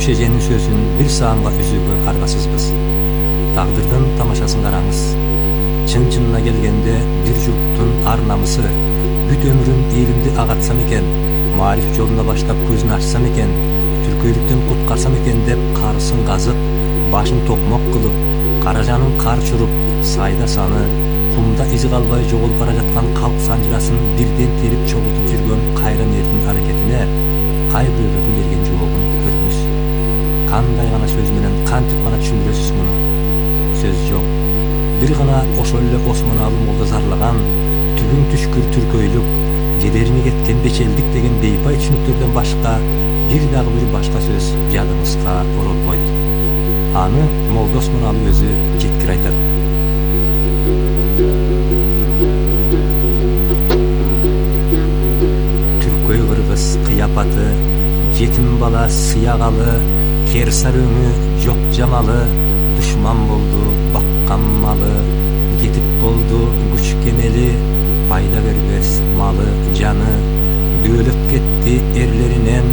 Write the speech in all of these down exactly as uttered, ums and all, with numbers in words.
Дүбүш эженин сөзүн бир саамга үзүүгө аргасызбыз. Тагдырдын тамашасын караңыз. Чын-чынына келгенде бир журттун ар намысы бүт өмүрүн элимди агартсам экен, маариф жолуна баштап көзүн ачсам экен, түркөйлүктөн куткарсам экен деп карысын казып, башын токмок кылып, каражанын кар чуруп, сайда саны, кумда изи калбай жоголуп бара жаткан калк санжырасын бирден терип чогултуп жүргөн кайран эрдин аракетине кай бирөөлөрдүн берген жообун көрүңүз. Кандай гана сөз менен кантип гана түшүндүрөсүз муну? Сөз жок. Бир гана ошол эле Осмоналы молдо зарлаган түбүң түшкүр түркөйлүк, жедерине кеткен бечелдик деген бейпай түшүнүктөрдөн башка бир дагы бир башка сөз жадыңызга оролбойт. Аны молдо Осмоналы өзү жеткир айтат. Түркөй кыргыз кыяпаты, жетим бала сыягалы, керсар өңү жок жамалы, душман болду баккан малы, кетип болду күч кемели, пайда бербес малы жаны, дөөлөт кетти эрлеринен,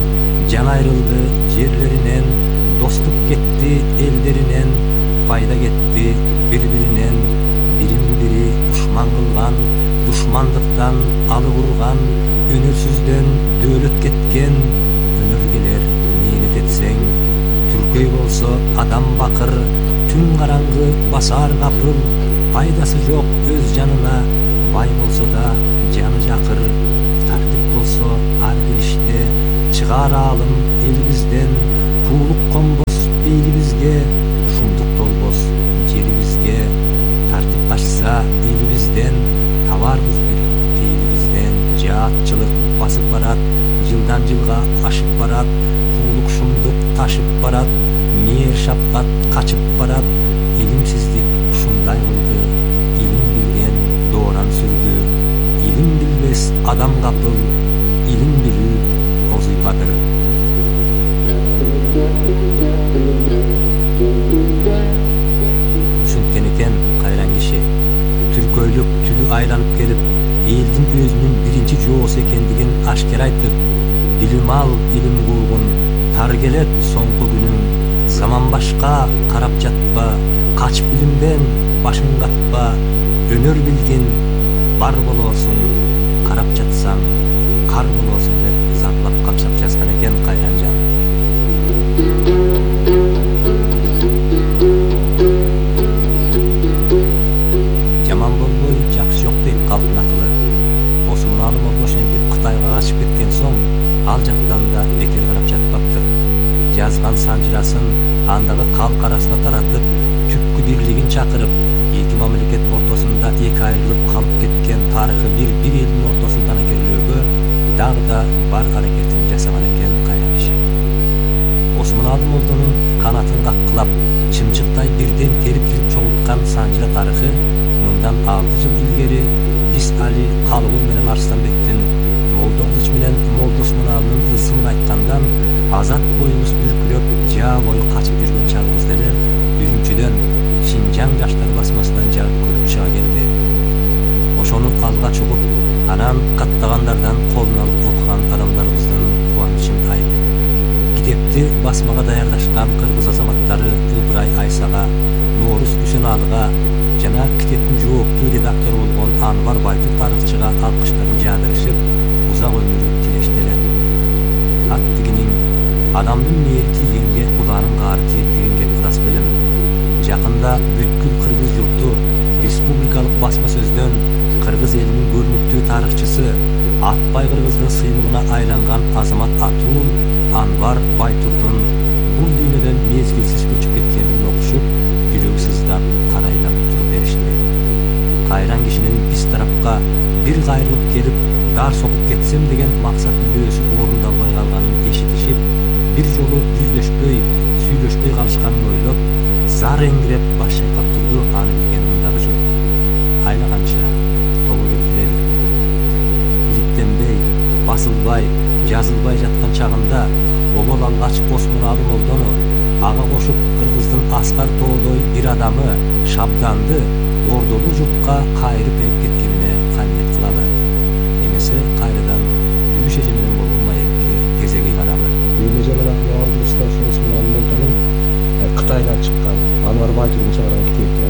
жан айрылды жерлеринен, достук кетти элдеринен, пайда кетти бири-биринен, бирин-бири душман кылган, душмандыктан алып урган, өнөрсүздөн дөөлөт кеткен, өнөр келер мээнет этсең, түркөй болсо адам бакыр, түн караңгы басар капыл, пайдасы жок өз жанына, бай болсо да жаны жакыр, тартип болсо ар бир иште, чыгар аалым элибизден, куулук конбос бейлибизге, шумдук толбос жерибизге, тартип качса элибизден, табарбыз бир тейлибизден, жаатчылык басып барат, жылдан жылга ашып барат, куулук шумдук ташып барат, мээр шапкат качып барат, илимсиздик ушундай кылды, илим билген дооран сүрдү, илим билбес адам капыл, илим билүү озуйпадыр. Ушинткен экен кайран киши, түркөйлүк түлү айланып келип, элдин өзүнүн биринчи жоосу экендигин ашкер айтып, билим ал илим куугун, тар келет соңку күнүң, заман башка карап жатпа, кач билимден башың катпа, өнөр билгин бар болосуң, карап жатсаң кар болосуң деп зарлап какшап жазган экен Кайранжан. Жаман болбой жакшы жок дейт калктын акылы. Осмоналы молдо ошентип Кытайга качып кеткен соң, ал жактан да бекер карап жатпаптыр. Жазган санжырасын андагы калк арасына таратып, түпкү бирлигин чакырып, эки мамлекет ортосунда эки айрылып калып кеткен тарыхы бир бир элдин ортосундан экерлөөгө дагы да бар аракетин жасаган экен кайран киши. Осмоналы молдонун канатын каккылап, чымчыктай бирден терип жүрүп чогулткан санжыра тарыхы мындан алты жыл илгери биз Али Калыгул менен Арстанбектин, Молдо Кылыч менен молдо Осмоналынын ысымын айткандан азат боюбуз бүркүрөп, жаа бою качып жүргөн чагыбызда эле Үрүмчүдөн Шинжаң жаштар басмасынан жарык көрүп чыга келди. Ошону алга чугуп, анан каттагандардан колун алып окуган адамдарыбыздын кубанычын айт. Китепти басмага даярдашкан кыргыз азаматтары Ыбырай Айсага, Нооруз Үсөналыга жана китептин жооптуу редактору болгон Анвар Байтур тарыхчыга алкыштарын жаадырышып, узак өмүр тилештеле. Ат дегениң адамдын мээри тийгенге Куданын каары тиет деген кеп ырас белем. Жакында бүткүл кыргыз журту республикалык басма сөздөн кыргыз элинин көрүнүктүү тарыхчысы, Атбай кыргыздын сыймыгына айланган азамат атуу Анвар Байтурдун бул дүйнөдөн мезгилсиз көчүп кеткенин окушуп, жүрөгү сыздап карайлап туруп беришти. Кайран кишинин биз тарапка бир кайрылып келип, дар сокуп кетсем деген максат мүлөөсү орундалбай калганын эшитишип, бир жолу жүздөшпөй, сүйлөшпөй калышканын ойлоп, зар эңиреп баш чайкап турду аны билген мындагы журт. Айлаганча тобо келтирели. Иликтенбей, басылбай, жазылбай жаткан чагында обол алгач Осмоналы молдону ага кошуп кыргыздын аскар тоодой бир адамы Шабданды ордолуу журтка кайрып берип кеткенине каниет кылалы. Эмесе кайрадан Дүбүш эже менен болгон маекке кезеги каралы. Эже менен Алтырышта Осмоналы чыгарат.